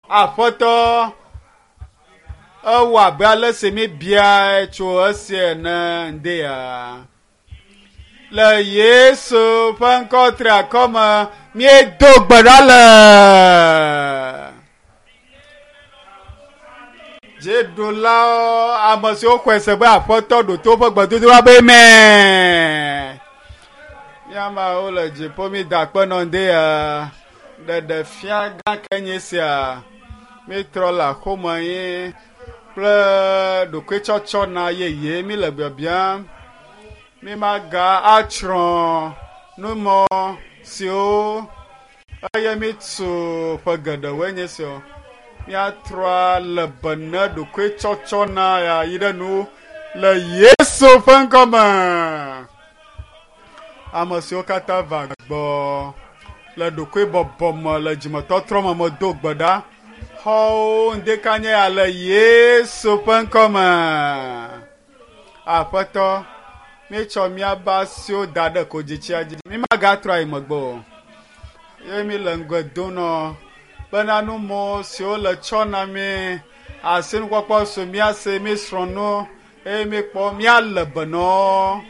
Aƒetɔ, ewɔ abe ale si míbiae tso esi ene ŋdea. Le Yesu ƒe ŋkɔ triakɔ me, míedo gbe ɖa le. Dziɖulawo, ame siwo xɔe se be Aƒetɔ ɖo to woƒe gbedodoɖa be amen. Míameawo le dziƒo mída akpe nɔ ŋdea. Ɖeɖe fia gã ke nye sia. Mítrɔ le axome ye kple ɖokuitsɔtsɔ na yeye mí le biabiam. Mímaga atsrɔ̃ numɔ siwo eye mítu ƒe geɖewoe nye sia. Míatrɔ le be ne ɖokuitsɔtsɔ na ya yi ɖe nu le Yesu ƒe ŋkɔme. Ame siwo katã va gbɔ le ɖokuibɔbɔ me le dzimetɔtrɔ me medo gbe ɖa. Xɔwo ŋdekanye ya le Yesu ƒe ŋkɔme. Aƒetɔ, míetsɔ míaƒe asiwo da ɖe kodzitsia dzi. Mímagatrɔ ayi megbe o. Ye míle ŋgɔe dom nɔ bena numɔ siwo le tsɔ na mí, asinukpɔkpɔ su mía si, mísrɔ̃ nu eye míkpɔ míale be nɔ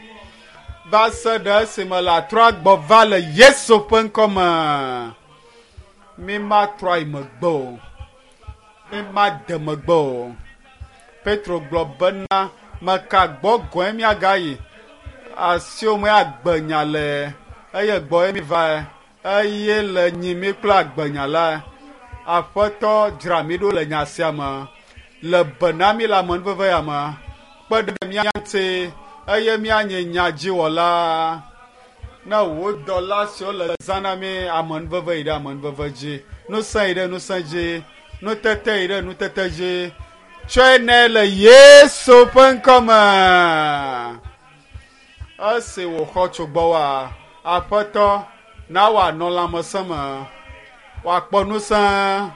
va se ɖe esime le atrɔ agbɔ va le Yesu ƒe ŋkɔme. Mímatrɔ ayi megbe o. Mímade megbe o. Petro gblɔ bena, meka gbɔ gɔe míagayi. Asiwò me agbenya le eye gbɔe míva eye le nyi mí kple agbenya la. Aƒetɔ dzra mí ɖo le nya sia me. Le be na mí le amenuveve ya me. Kpe ɖe mía ŋuti eye míanye nyadziwɔla. Ne wò dɔla siwo le zã na mí amenuveve yi ɖe amenuveve dzi, ŋusẽ yi ɖe ŋusẽ dzi, nutete yi ɖe nutete dzi. Tsɔe nɛ le Yesu ƒe ŋkɔme. Esi wòxɔ tso gbɔwòa, Aƒetɔ, na wòanɔ lãmesẽ me, wòakpɔ ŋusẽ,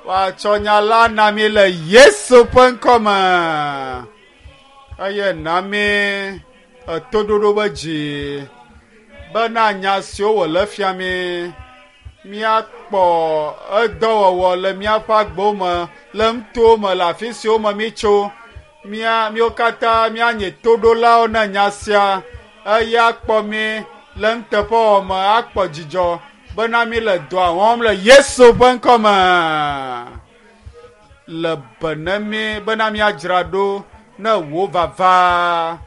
wòatsɔ nya la na mí le Yesu ƒe ŋkɔme. Eye na mí etoɖoɖo be dzi bena nya siwo wòle fia mí míakpɔ edɔwɔwɔ le míaƒe agbewo me, le nutowo me, le afi siwo me mítso. Mía míwo katã míanye toɖolawo na nya sia eye akpɔ mí le nuteƒewɔwɔ me akpɔ dzidzɔ bena mí le dɔa wɔm le Yesu ƒe ŋkɔme. Le be ne mí bena míadzra ɖo ne wò vava.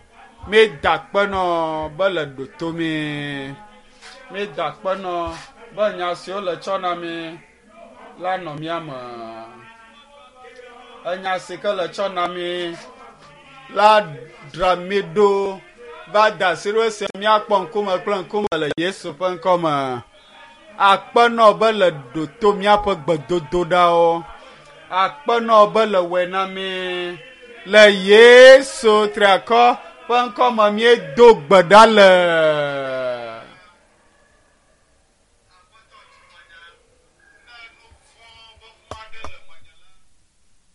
Míeda akpe nɔ be le ɖo to mí. Míeda akpe nɔ be nya siwo le tsɔ na mí la nɔ mía me. Enya si ke le tsɔ na mí la dzra mí ɖo va da asi ɖo esia míakpɔ ŋkume kple ŋkume le Yesu ƒe ŋkɔme. Akpe nɔ be le ɖo to míaƒe gbedodoɖawo. Akpe nɔ be le wɔe na mí. Le Yesu triakɔ ƒe ŋkɔme míedo gbe ɖa le.